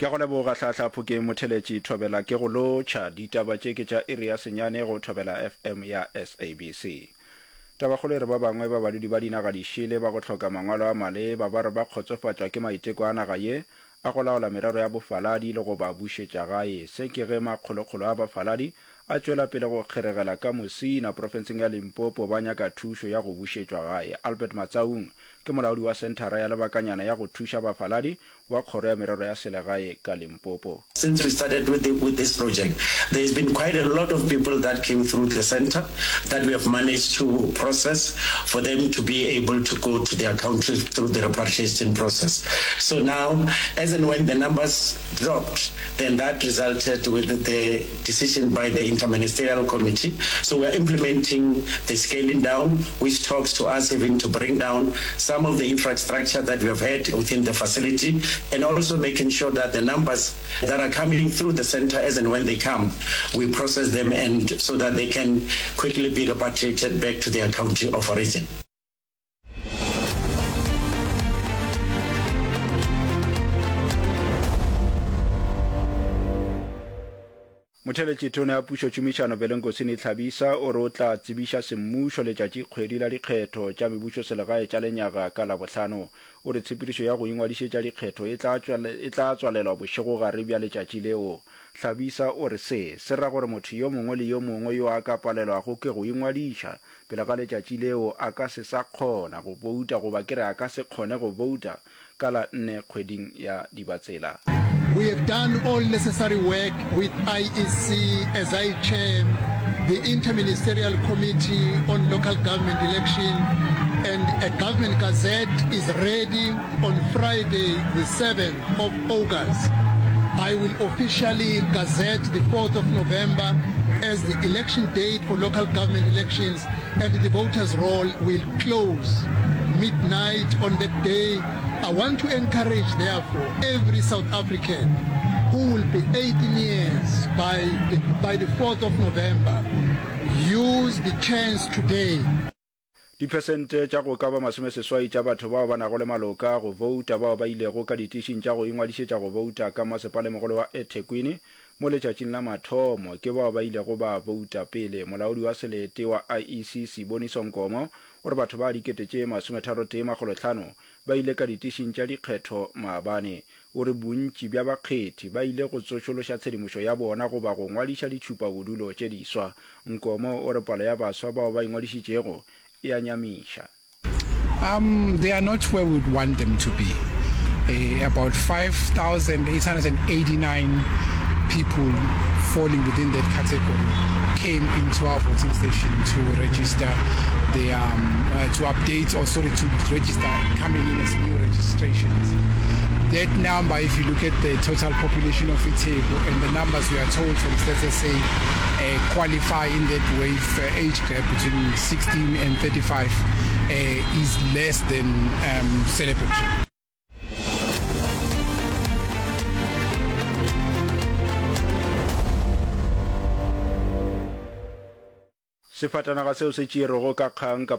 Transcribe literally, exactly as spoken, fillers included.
Ke a go leboga Hlahla Phokeng Motheletši Thobela ke go lotšha. Ditaba tše ke tša iri ya senyane go Thobela F M ya S A B C. Tabakgolo e re ba bangwe ba badudi ba dinaga dišele ba go hloka mangwalo a maleba ba re ba kgotsofatšwa ke maiteko a naga ye a go laola merero ya bofaladi le go ba bušetša gae. Se ke ge makgolokgolo a bafaladi a tšwela pele go kgeregela ka Musina profenseng ya Limpopo ba nyaka thušo ya go bušetšwa gae. Albert Matsaung ke molaodi wa senthara ya lebakanyana ya go thuša bafaladi wa kgoro ya merero ya selegae ka Limpopo. Since we started with, the, with this project, there's been quite a lot of people that came through the center that we have managed to process for them to be able to go to their country through the repatriation process. So now, as and when the numbers dropped, then that resulted with the decision by the interministerial committee. So we are implementing the scaling down, which talks to us having to bring down some of the infrastructure that we have had within the facility, and also making sure that the numbers that are coming through the center, as and when they come, we process them and so that they can quickly be repatriated back to their country of origin. Motheletši Tona ya Pušo Tšhomišano Velenkosini Hlabisa o re o tla tsebiša semmušo letšatšikgwedi la dikgetho tša mebušoselegae tša lenyaga ka Labohlano. O re tshepedišo ya go ingwadišetša dikgetho e tla e tla tswalelwa bošegogare bja letšatši leo. Hlabisa o re se se ra gore motho yo mongwe le yo mongwe yo a ka palelwago ke go ingwadiša pele ga letšatši leo a ka se sa kgona go bouta goba ke re a ka se kgone go bouta ka la nne kgweding ya Dibatsela. We have done all necessary work with I E C as I chair the Interministerial Committee on Local Government Election, and a Government Gazette is ready on Friday the seventh of August. I will officially gazette the fourth of November as the election date for local government elections, and the voters roll will close midnight on that day. I want to encourage, therefore, every South African who will be eighteen years by the, by the fourth of November, use the chance today. Diphesente tša go ka ba masomeseswai tša batho bao ba nago le maloka a go bouta bao ba ilego ka ditišing tša go ingwadišetša go bouta ka Masepalemogolo wa eThekwini mo letšatšing la mathomo ke bao ba ilego ba bouta pele. Molaodi wa selete wa I E C Siboniso Nkomo o re batho ba dikete tše masometharotee makgolohlano ba ile ka ditišing tša dikgetho maabane. O re bontši bja bakgethi ba ile go tsošološa tshedimošo ya bona goba go ngwadiša ditšhupabodulo tše diswa. Nkomo o re palo ya baswa bao ba ingwadišitšego e a nyamiša. Um, they are not where we would want them to be. Uh, about five thousand eight hundred eighty-nine people falling within that category came into our voting station to register the, um, uh, to update or sorry, to register coming in as new registrations. That number, if you look at the total population of iTheku and the numbers we are told from Stats S A uh, qualify in that wave uh, age gap between sixteen and thirty-five uh, is less than um, celebratory. Sefatanaga seo se tšerwego ka kgang ka